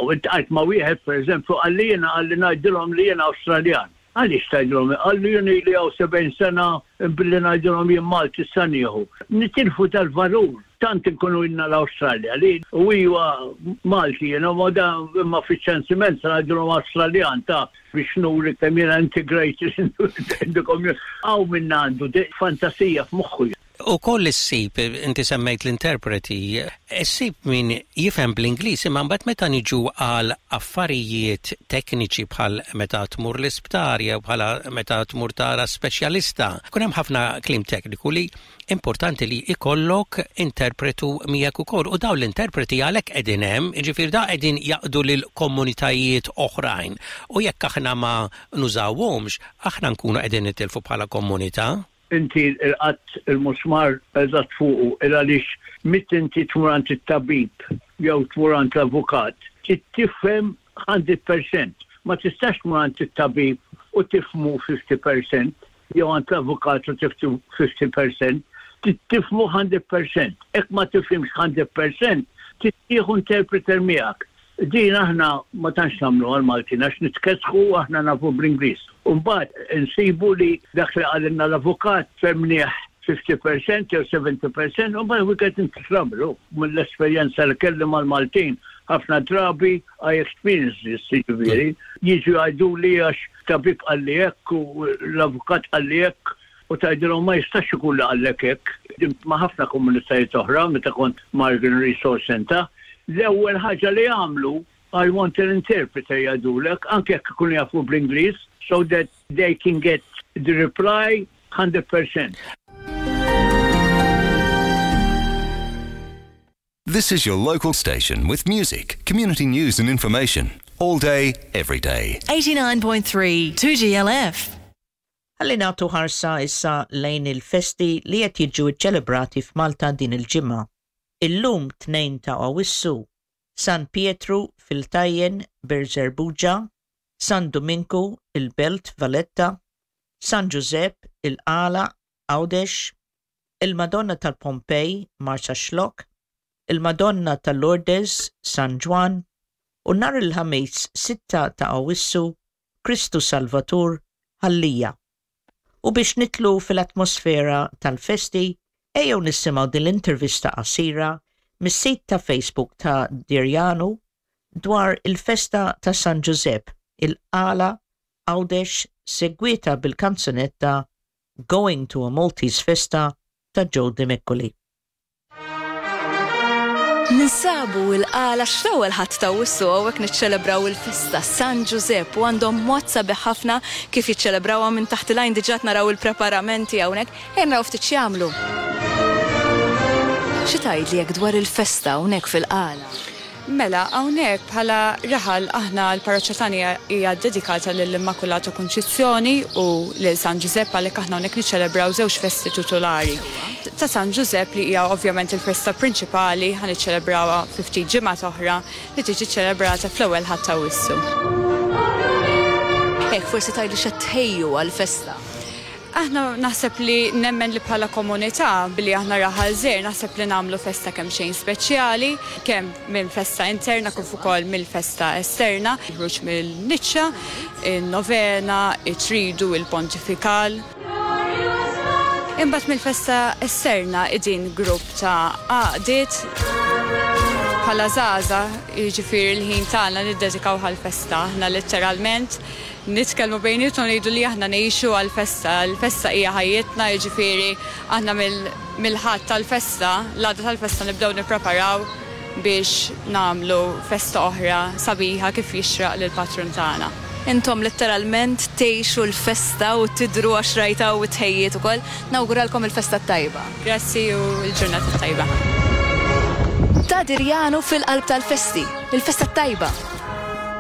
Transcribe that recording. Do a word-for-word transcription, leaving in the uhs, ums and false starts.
U iltqajt ma' wieħed, per eżempju, qalli jiena, qalli ngħidilhom li jiena Awstraljan. Għaliex tgħidilhom? Qalli jien li hawn sebgħin sena, billi ngħidilhom jien Malti sa nieħu. Nitilfu tal-valur, tant inkunu ilna l-Awstralja li u iwa Malti jiena, ma da imma fiċ-ċensiment sa ngħidilhom Awstraljan ta' biex nuri kemm jiena integrated in the community. Hawn minna għandu fantasija f'moħħu. Ukoll issib, inti semmejt l-interpreti, issib min jifhem bl-Ingliż, imma mbagħad meta niġu għal affarijiet tekniċi bħal meta tmur l-isptar jew bħala meta tmur tara speċjalista, kun hemm ħafna kliem tekniku li importanti li ikollok interpretu miegħek ukoll, u dawn l-interpreti għalhekk qegħdin hemm, jiġifieri da qegħdin jaqdu lil komunitajiet oħrajn. U jekk aħna ma nużawhomx, aħna nkunu qegħdin nitilfu bħala komunità. Inti laqatt il-musmar eżatt fuqu, il għaliex meta inti tmur għand it-tabib jew tmur għand l-avukat, tifhem mija fil-mija. Ma tistax tmur għand it-tabib u tifhmu ħamsin fil-mija jew għand l-avukat u tifhmu ħamsin fil-mija. Tifhmu mija fil-mija. Jekk ma tifhimx mija fil-mija, tieħu interpreter miegħek. Din aħna ma tantx nagħmlu għal-Maltin għax nitkesħu, aħna nafu bl-Ingliż. Umbagħad insibu li dak li qalilna l-avukat fhimnieh ħamsin fil-mija jew sebgħin fil-mija, u mbagħad we get into trouble. Mill-esperjenza li kelli mal-Maltin, ħafna drabi I experience this, jiġifieri. Jiġu jgħidu li għax tabib qalli hekk u l-avukat qalli hekk, u tgħidilhom ma jistax ikun li qallek hekk. Ma' ħafna komunitajiet oħra meta kont Margan Resource Center, l-ewwel ħaġa li għamlu, "I want an interpreter," jgħidulek, anke jekk ikunu jafu bl-Ingliż, so that they can get the reply one hundred percent. This is your local station with music, community news and information. All day, every day. eighty-nine point three two G L F. Ħalli nagħtu ħarsa issa lejn il-festi li qed jiġu ċelebrati f'Malta din il-ġimgħa. Illum tnejn ta' Awissu, San Pietru fil-Tajjen, Birżebbuġa, San Dominku il-Belt Valletta, San Giuseppe il-Qala, Għawdex, il-Madonna tal-Pompej, Marsaxlokk, il-Madonna tal-Lourdes, San Ġwann, u nhar il-Ħamis sitta ta' Awissu, Kristu Salvatur, Ħal Lija. U biex nidħlu fil-atmosfera tal-festi, ejjew nisimgħu din l-intervista qasira mis-sit ta' Facebook ta' Dirjanu dwar il-festa ta' San Giuseppe, il-Qala, Għawdex, segwita bil-kanzunetta Going to a Maltese Festa ta' Joe Demicoli. Ninsabu il-Qala x-ewwel Ħadd ta' Awwissu, hawnhekk niċċelebraw il-festa San Giuseppe, u għandhom mod sabiħ ħafna kif jiċċelebrawha. Minn taħt il-għajn diġà naraw il-preparamenti hawnhekk. Ejja naraw ftit x'jagħmlu. Xi tgħidli jekk dwar il-festa hawnhekk fil-Qala? Mela, hawnhekk bħala raħal aħna l-parroċċa tagħna hija dedikata lill-Immakulata Kunċizzjoni u lil San Giuseppe, għalhekk aħna hawnhekk niċċelebraw żewġ festi titulari. Ta' San Giuseppe, li hija ovvjament il-festa prinċipali, ħa niċċelebrawha fi ftit ġimgħat oħra, li tiġi ċelebrata fl-ewwel Ħadd ta' Awwissu. Hekk forsi tgħidli x'qed tħejju għall-festa. Aħna naħseb li nemmen li bħala komunità, billi aħna raħal żgħir, naħseb li nagħmlu festa kemm xejn speċjali, kemm minn festa interna kif ukoll mill-festa esterna, ħruġ mill-niċċa, il-novena, it-tridu, il-pontifikal. Imbagħad mill-festa esterna idin grupp ta' għaqdiet bħala żgħażagħ, jiġifieri l-ħin tagħna niddedikaw għall-festa. Aħna letteralment nitkellmu bejnietna u ngħidu li aħna ngħixu għall-festa. Il-festa hija ħajjitna, jiġifieri aħna mill-Ħadd tal-festa, l-għada tal-festa, nibdew nippreparaw biex nagħmlu festa oħra sabiħa kif jixraq lill-patrun tagħna. Intom letteralment tgħixu l-festa u tidru għax rajta u tħejjiet ukoll. Nawguralkom il-festa tajba. Grazzi u l-ġurnata tajba. Ta' Dirjanu fil-qalb tal-festi, il-festa tajba.